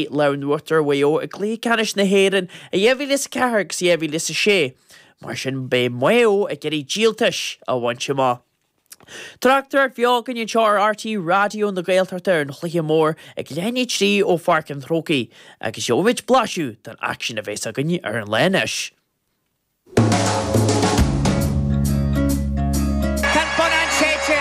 Lámh in uachtar ar Mhaigh Eo i gcluiche ceannais na hÉireann i 2004 agus 2006, mar sin beidh Maigh Eo ag iarraidh díoltais a bhaint amach. Tráchtaireacht bheo againn anseo ar RTÉ Raidió na Gaeltachta ar an chluiche mór ag leath i ndiaidh 3 ó Pháirc an Chrócaigh agus gheobhaimid blaiseadh den aicsean a bheas againn ar an lá anois. Tá an bonnán séidte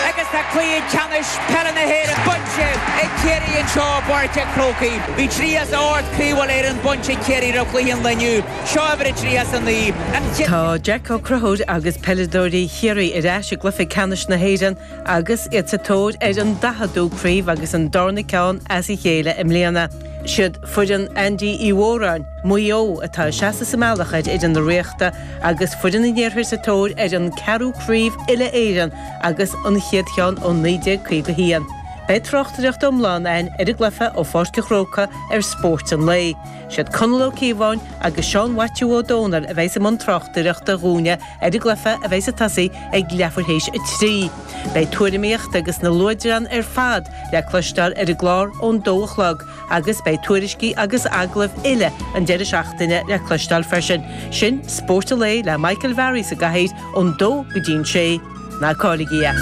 agus tá cluiche ceannais peile na hÉireann bainte ag Ciarraí anseo i bPáirc an Chrócaigh. Bhí 38 craobh Uile-Éireann bainte ag Ciarraí roimh chluiche an lae inniu. Seo uimhir a 39. An chéad. Tá Jack Ó Conchúir agus peileadóirí Chiarraí ar ais i gcluiche ceannais na hÉireann agus iad sa tóir ar an daicheadú craobh agus an darna ceann as a chéile i mbliana. Siad foireann Andy Uí Mhóráin, Maigh Eo, atá ag seasamh sa mbealach ar fhoireann na Ríochta agus foireann an Iarthair sa tóir ar an ceathrú craobh uile-Éireann agus an chéad cheann ó 1951. Beidh tráchtaireacht iomlán againn ar an gcluiche ó Pháirc an Chrócaigh ar Spórt an Lae. Siad Conall Ó Cíobháin agus Seán Mhaitiú Ó Dónaill a bheidh i mbun tráchtaireachta dhúinne ar an gcluiche a bheidh ag tosaí ag leathuair théis 3. Beidh tuairimíocht agus na luaidreáin ar fad le cloisteáil ar an gclár ón dó a chlog agus beidh tuairiscí agus agallaimh uile an deireadh seachtaine le cloisteáil freisin. Sin Spórt an Lae le Michael Varey sa gcathaoir ón dó go dtí'n sé. Ná cailligí é!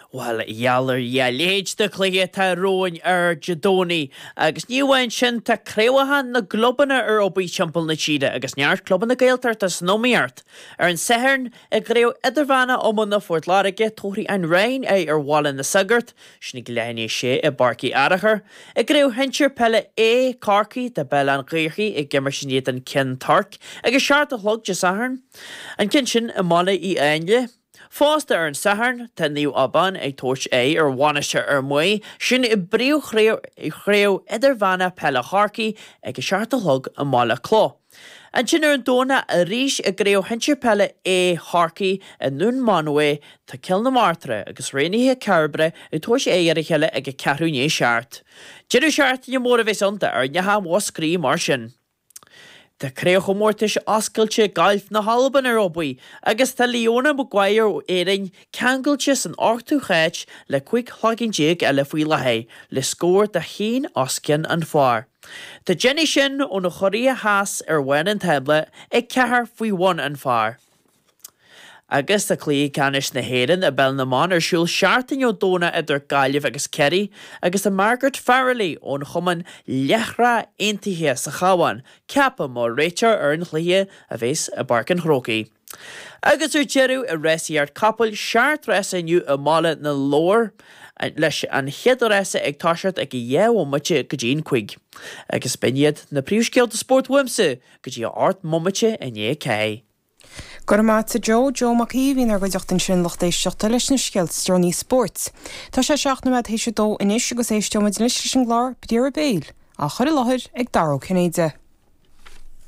Bhuel, gheall ar Dhia, a leithéid de chluiche atá romhainn ar Dé Domhnaigh. Agus ní amháin sin, tá craobhacha na gclubanna ar obair timpeall na tíre agus neart clubanna Gaeltachta san iomaíocht. Ar an Satharn, i gCraobh Idirmheánach Iomána Phort Láirge, tabharfaidh an Rinn aghaidh ar Bhaile na Sagart, sin ag leath i ndiaidh a sé i bPáirc Uí Fhearachair. I gCraobh Shinsir Peile A, Corcaigh, tá Béal Átha an Ghaorthaidh ag imirt in éadan Ceann Toirc ag a 7 a chlog Dé Sathairn. An ceann sin i mBaile Uí Áinle. Fosta ar an Satharn, tá Naomh Abán ag tabhairt aghaidh ar Mhainistir Fhear Maí, sin i bpríomhchraobh idirmheánach peile Chorcaí ag a 7 a chlog i mBaile Clough. Ansin ar an Domhnach arís i gCraobh Shinsir Peile A Chorcaí i nDún Mánmhaí, tá Cill na Martra agus Raonaithe Cairbre ag tabhairt aghaidh ar a chéile ag a ceathrú i ndiaidh a 7. Deireadh seachtaine mór a bheas ann d'fhoirneacha Mhúscraí mar sin. Tá Craobhchomórtais Oscailte Gailf na hAlban ar obair agus tá Leona Maguire ó Éirinn ceangailte san ochtú háit le 15 shlagín eile faoi láthair, le scór de haon os cionn an phár. Tá Jenny Shin ón Chóiré Theas ar bharr an tábla ag 4 faoi bhun an phár. Agus tá Cluiche Ceannais na hÉireann i bPeil na mBan ar siúl seachtain ó Domhnach idir Gaillimh agus Ciarraí agus tá Margaret Farrelly ón chumann Leathshraith Aontaithe sa Chabhán ceaptha mar réiteoir ar an chluiche a bheas i bPáirc an Chrócaigh. Agus ar deireadh i rásaíocht capaill, seacht rása inniu i mBaile na Lobhar leis an chéad rása ag toiseacht ag a 2 bhomaite go dtí an 5. Agus b'in iad na príomhscéalta spóirt uaimse go dtí a 8 mbomaite i ndiaidh 4. Go raibh maith a't a Joe, Joe Mac Aoidh a bhí inár gcuideachta ansin lucht éisteachta leis na scéalta is deireanaí spóirt. Tá sé 7 nóiméad théis a dó anois agus éisteoimid anois leis an gclár Briathra Béil, á chur i láthair ag Dara Ó Cinnéide.